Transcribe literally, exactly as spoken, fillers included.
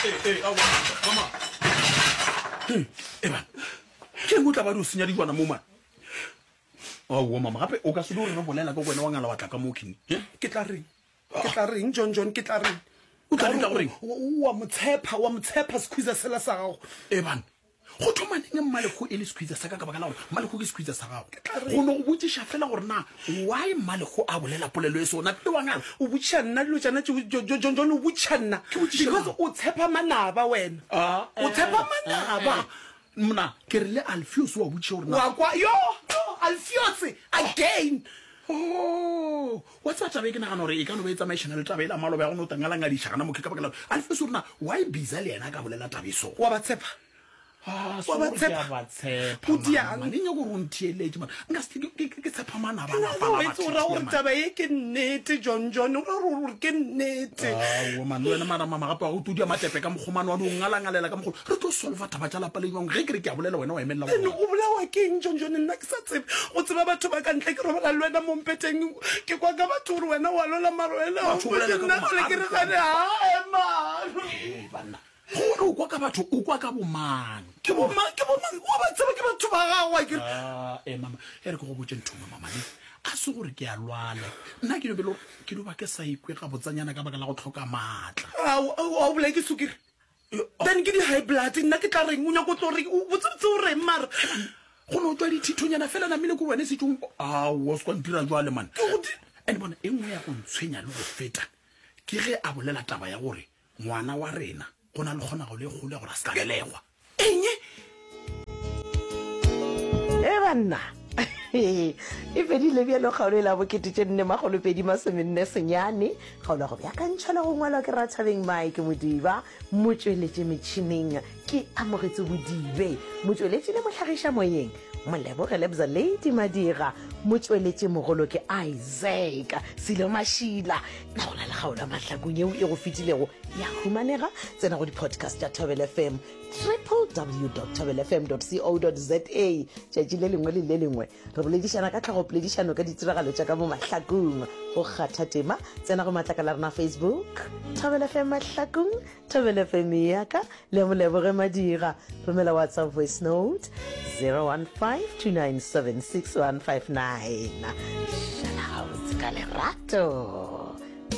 Ee, ee, aowa, mama. Hei, Eban, ke eng o tla ba di o senya dilwana mo man? Aowa mama, gape o ka se di gore re bolela ka wena wa ngala wa tla ka mo kini. Ke tla reng? Ke tla reng, John John, ke tla reng? O tla reng ka goreng? Wa mo tshepa, wa mo tshepa sekhwiza sela sa gago. Eban, go thoma neng Mmalekgo e le sekhwiza sa ka ka baka la gore Mmalekgo ke sekhwiza sa gago? Go no go botšiša fela gore na why Mmalekgo a bolela polelo e so napile wa ngala? O botšiša nna dilo tšana tšeo, Jo- Jo- John John, o botšiša nna. Ke botšiša Because mang? o tshepa manaba wena. Ah, O tshepa manaba. eh, Mna, ke re le Alfios wa botšiša gore na Wa kwa, yo, yo, Alfios, again. Oh, wa tseba taba e ke nagana gore e ka no ba e tsamaišana le taba e la maloba ya go no tangalangadiša gana mokhe ka baka la gore Alfios o re na why bisa le yena a ka bolela taba e so. Wa ba tshepa? Ah, Wa ba so ke a tshepa? ba tshepa, O diang? mama. Ne nyako gore o ntheeletše, man. Nka se ke, ke, ke tshepa manaba a lapa O la etse o ra gore batho, man. taba ye ke nnete, John John. O ra gore ke nnete. Aowa, man, le wena mara mama gape wa go tudia matepe ka mokgomane wa no ngalangalela ka mokgolo. Re tlo solva taba tša lapa le jwang? Ge ke re ke a bolela wena wa emelela Then gona. o bolawa ke eng, John John? Nna ke sa tsebe go tseba batho ba ka ntle. Ke robala le wena mo mpeteng. Ke kwa ka batho gore wena wa lwela mara wena Batho o bolela ka nna bo gale ke re ma- gane, hae, man. Hei, banna. Gore o kwa ka batho, o kwa ka bomang? Ke bomang? Ke bomang? Wa ba tseba ke batho ba gago, akere? Ah, eh, mama, e re ke go botše ntho nngwe, mama, ne. A se gore ke a lwala. Nna ke no be le gore ke no ba ke sa ikwe gabotsanyana ka baka la go tlhoka maatla. Ao, ao, ao bolae ke sukiri. Then ke di-high blood, nna ke tla reng? O nyako tlo reng? O botsebotse o reng mara? Go no tswa dithithonyana fela namile ko wena setsong. Ao, o se kwa ntira jwale, man. Ke go di- And bona, e nngwe ya go ntshwenya le go feta ke ge a bolela taba ya gore ngwana wa rena go na le kgonagalo e kgolo ya gore a se ka belegwa. Eng? E banna, e fedile bjalo kgaolo e la bokete tše nne makgolo pedi masomenne senyane. Kgaolo ya go beakantšhwa le go ngwalwa ke Rathabeng Mike Modiba, motšweletši metšhineng ke Amogetse Bodibe, motšweletši le mohlagiša moyeng Moleboge Lebza Lady Madira, motšweletši mogolo ke Isaac Silo Mašila. Na go na le kgaolo ya mahlakong yeo e go fetilego ya humanega? Tsena go di-podcast tša Thobela F M, www dot thobela f m dot co dot za. Tšatši le lengwe le le lengwe re boledišana ka tlhagopoledišano ka ditiragalo tša ka mo mahlakong. Go kgatha tema, tsena go matlakala a rena Facebook, Thobela F M Mahlakong, Thobela F M ya ka le Moleboge Madira. Romela WhatsApp voice note zero one five two nine seven six one five nine. Šala gabotse ka lerato.